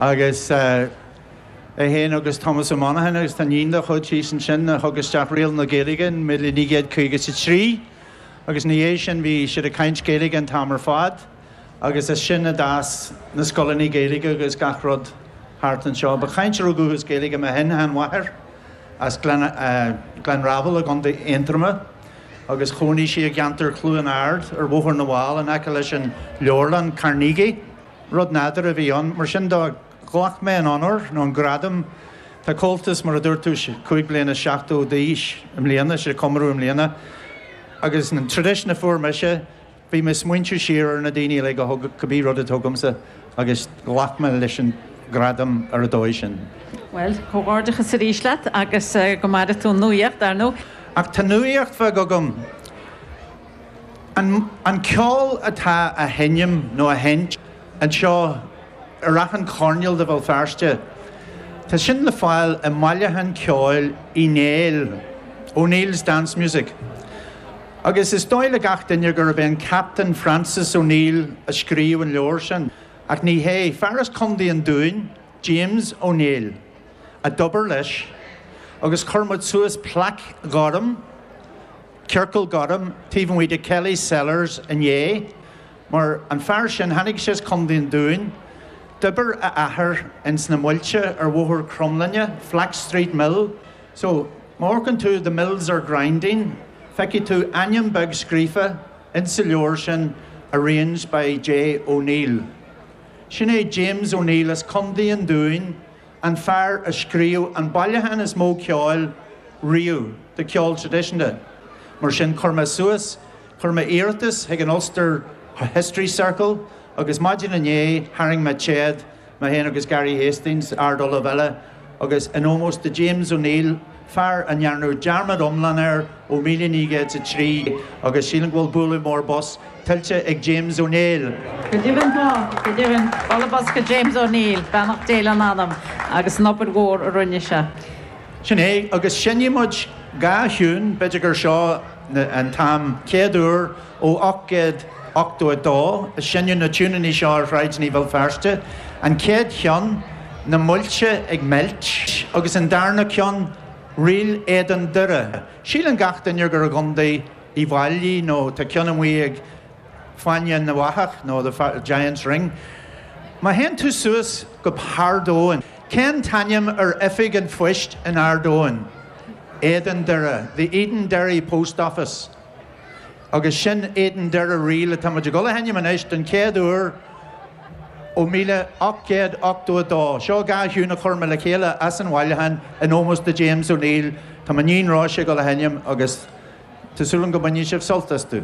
Agus é féin agus Tomás Ó Monacháin agus tá iníon dá chuid thíos ansin a thug isteach Riail na Gaeilge in 1953 agus ina dhiaidh sin bhí siad ag caint Gaeilge an t-am ar fad agus as sin a d'fhás na scoileanna Gaeilge agus gach rud thart anseo. Ba chainteoir ó dhúchas Gaeilge mo shin-sheanmháthair as Gleann Raibhil i gContae Aontroma agus chónaigh sí i gceantar Chluain Ard ar Bhóthar na bhFál in aice leis an leabharlann Carnegie. Rud nádúrtha a bhí ann. Mar sin de, ghlac mé an onóir, nó an gradam. Tá Comhaltas, mar a dúirt tú, 75 bliana d'aois i mbliana, sé comóradh i mbliana. Agus an tradition a fuair mise, bhí mé ag smaointiú siar ar na daoine uilig a thug cibé rud atá agamsa agus ghlac mé leis an ghradam ar an dóigh sin. Bhuel, comhghairdeachas arís leat agus go maire tú an nuaíocht, dar ndóigh. Ach tá nuaíocht bheag agam. An ceol atá á sheinm nó á sheinnt anseo ar achan choirnéal de Bhéal Feirste, tá sin le fáil i mbailiúchán ceoil Uí Néill, O'Neill's Dance Music. Agus is dóigh le gach duine gurb é an Captain Francis O'Neill a scríobh an leabhar sin, ach ní hé. Fear as Contae an Dúin, James O'Neill, a d'obair leis agus chuir muid suas plaic ghorm, Ciorcal Gorm taobh amuigh de Kelly's Cellars inné, mar an fear sin, tháinig sé as Contae an Dúin, d'oibir a athair ins na muilte ar Bhóthar Cromghlinne, Flax Street Mill. So, má amharcann tú The Mills are Grinding, feicfidh tú ainm beag scríofa ins sa leabhar sin Arranged by J. O'Neill. Sin é James O'Neill as Contae an Dúin, an fear a scríobh an bailiúchán is mó ceoil riamh de cheol traidisiúnta. Mar sin, chuir mé suas, chuir mé iarratas chuig an Ulster History Circle agus maidin inné tharraing mé téad, mé féin agus Gary Hastings, Ard-Ollamh eile, agus in ómós do James O'Neill, fear a ndearnadh dearmad iomlán air ó 1903 agus sílim go bhfuil bualadh mór bos tuillte ag James O'Neill. Go deimhin tá, go deimhin. Bualadh bos go James O'Neill, beannacht Dé lena anam agus an obair mhór a rinne sé. Sin é, agus seinnfidh muid dhá thiún, b'fhéidir gur seo an t-am chéad uair ó 1882 a seinneadh na tiúineanna seo ar shráideanna Bhéal Feirste. An chéad cheann, Na Muilte ag Meilt, agus an darna ceann, Ríl Éadan Doire. Síleann gach duine gur i gContae Uíbh Fhailí nó tá ceann amuigh ag Fáinne na bhFathach nó The Giant's Ring. Má théann tú suas go hArd Eoin, cén t-ainm ar oifig an phoist in Ard Eoin? Éadan Doire, The Edenderry Post Office. Agus sin Éadan Doire Reel atá muid ag dul a sheinm anois don chéad uair ó 1882. Seo dhá thiún a chuir mé le chéile as an bhailiúchán in ómós do James O'Neill. Tá m'iníon Róise ag dul a sheinm agus tá súil agam go mbainfidh sibh sult astu.